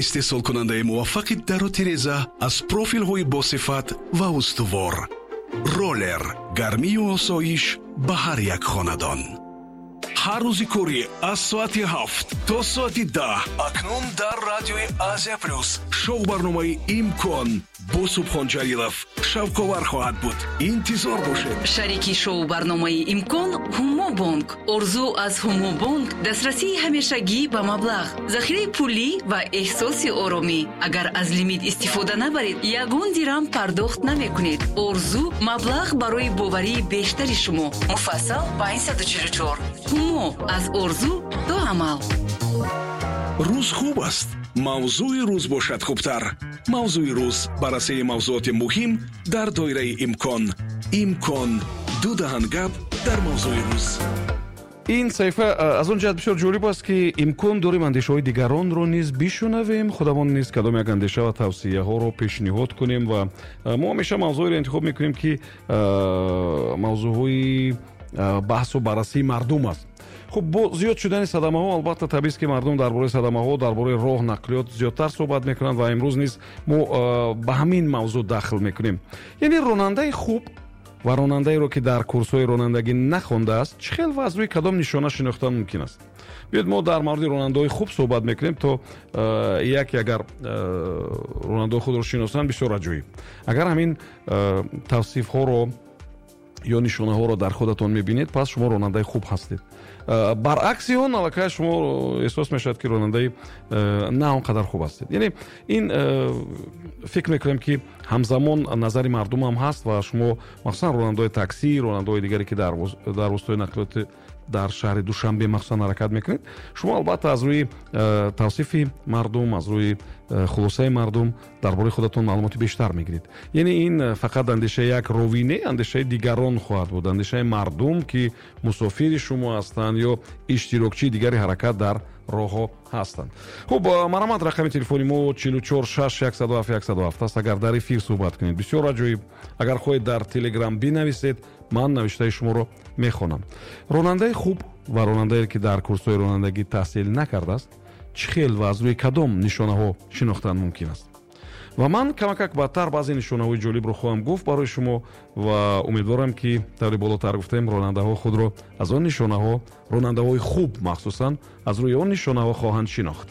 Истеҳсолкунандаи муваффақи дару тиреза аз профилҳои босифат ва устувор. Роллер, гармию осоиш ба ҳар як хонадон. Ҳар рӯзи корӣ аз соати 7 то соати 10 акнун дар радиои Азия Плюс шоу барномаи «Имкон» бо Субҳон Ҷалилов шавқовар хоҳад буд. Интизор бошед. Шарики шоу барномаи «Имкон» Ҳумобонк. Орзу аз Ҳумобонк дастрасии ҳамешагӣ ба маблағ, захираи пулӣ ва эҳсоси оромӣ. Агар аз лимит истифода набаред, ягон дирам пардохт намекунед. Орзу маблағ барои боварии бештари шумо. Муфассал 544. Ҳумо аз орзу то амал. Рӯз хуб аст, мавзӯи рӯз бошад хубтар. Мавзӯи рӯз, баррасии мавзӯоти муҳим дар доираи имкон. Имкон, ду даҳан гап дар мавзӯи рӯз. Ин саҳифа аз он ҷиҳат бисёр ҷолиб аст, ки имкон дорем андешаҳои дигаронро низ бишунавем, худамон низ кадом як андеша ва тавсияҳоро пешниҳод кунем. Ва мо ҳамеша мавзӯеро интихоб мекунем, ки мавзӯъҳои баҳсу баррасии мардум аст. Хуб, бо зиёд шудани садамаҳо, албатта, табиист, ки мардум дар бораи садамаҳо, дар бораи роҳ, нақлиёт зиёдтар суҳбат мекунанд ва имрӯз низ мо ба ҳамин мавзӯъ дахл мекунем. Яъне ронандаи хуб ва ронандаеро, ки дар курсҳои ронандагӣ нахондааст, чӣ хел ва аз рӯи кадом нишона шинохтан мумкин аст? Биёед, мо дар мавриди ронандаҳои хуб суҳбат мекунем, то яке агар ронандаҳои худро шиносанд, бисёр аҷоиб. Агар ҳамин тавсифҳоро ё нишонаҳоро дар худатон мебинед, пас шумо ронандаи хуб ҳастед. Баръакси он, аллакай шумо эҳсос мешавад, ки ронандаи на он қадар хуб ҳастед. Яъне ин фикр мекунем, ки ҳамзамон назари мардум ҳам ҳаст ва шумо, махсусан ронандаҳои таксӣ, ронандаҳои дигаре, ки дар воситаҳои нақлиёти дар шаҳри Душанбе махсусан ҳаракат мекунед, шумо албатта аз рӯи тавсифи мардум, аз рӯи хулосаи мардум дар бораи худатон маълумоти бештар мегиред. Яъне ин фақат андешаи як ровӣ не, андешаи дигарон хоҳад буд, андешаи мардум, ки мусофири шумо ҳастанд ё иштирокчии дигари ҳаракат дар роҳҳо ҳастанд. Хуб, марҳамат, рақами телефони мо 44 6 107 107 аст. Агар дар эфир суҳбат кунед, бисёр аҷоиб. Агар хоҳед, дар Телеграм бинависед, ман навиштаи шуморо мехонам. Ронандаи хуб ва ронандае, ки дар курсҳои ронандагӣ таҳсил накардааст, чӣ хел ва аз рӯи кадом нишонаҳо шинохтан мумкин аст? Ва ман камакак баъдтар баъзе нишонаҳои ҷолибро хоҳам гуфт барои шумо ва умедворам, ки тавре болотар гуфтем, ронандаҳо худро аз он нишонаҳо, ронандаҳои хуб махсусан, аз рӯи он нишонаҳо хоҳанд шинохт.